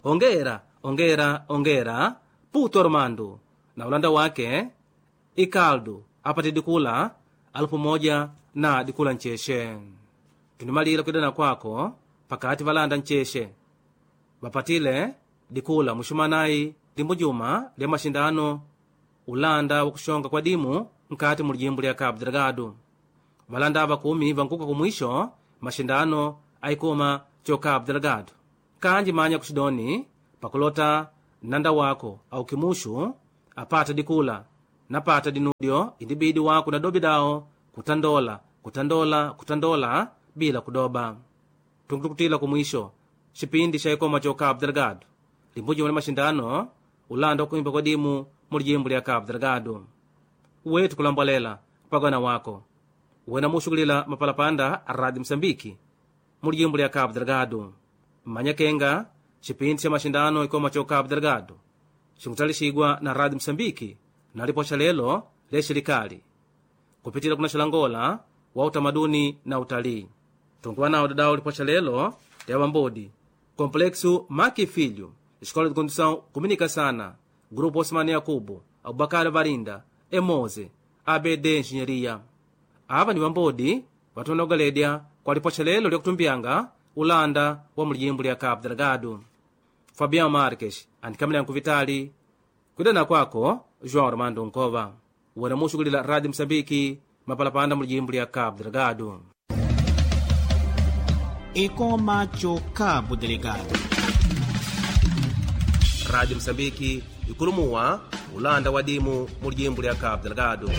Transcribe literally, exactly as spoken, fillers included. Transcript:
Ongera, ongera, ongera Putu Armando na ulanda wake Ikaldo apate dikula alupu moja na dikula ncheshe. Tunimalila kwidana kwako pakati valanda ncheshe vapatile dikula muxumanayi limbu juma lya maxindano ulanda wa kuxonga kwa dimu nkati mu lijimbu lya Cabo Delgado. Valanda ava kumi vankuka kumwisho maxindano aikuma co Cabo Delgado. Kanji manya kuxidoni pakulota nanda wako au kimuxu apata dikula napata dinudyo indibidi wako na dobi dawo kutandola kutandola kutandola bila kudoba. Tunkutukutila kumwisho xipindi xa ikoma co Cabo Delgado limbu juma lya maxindano ulanda wa kuimba kwa dimu mu lijimbu lya Cabo Delgado. Wetu kulambwalela kupagana wako wena muxukulila mapalapanda a Rádio Moçambique mu lijimbu lya Cabo Delgado. Mmanya kenga xipindi xa maxindano ikoma co Cabo Delgado xinkutalixigwa na Rádio Moçambique na lipoxa lelo lya xilikali kupitila kuna xilangola wa utamaduni na utalii. Tunkuwa nawo dadawo lipoxa lelo lya wambodi Complexo Maki Filho, Escola de Condução Comunica Sana, Grupo Osmani Yakubu, Abubakar Varinda, Emoze, A B D Engenharia. Ava ni wambodi watona ugaledya kwa lipoxa lelo lyakutumbyanga ulanda wa mulijimbu lya Cabo Delgado. Fabian Marques andikamila nkuvitali kwidana kwako João Armando Nkova wena muxukulila Rádio Moçambique mapalapanda mulijimbu lya Cabo Delgado. Ekoma cho Cabo Delgado. Rádio Moçambique ikulumuwa ulanda wa dimu mulijimbu lya Cabo Delgado.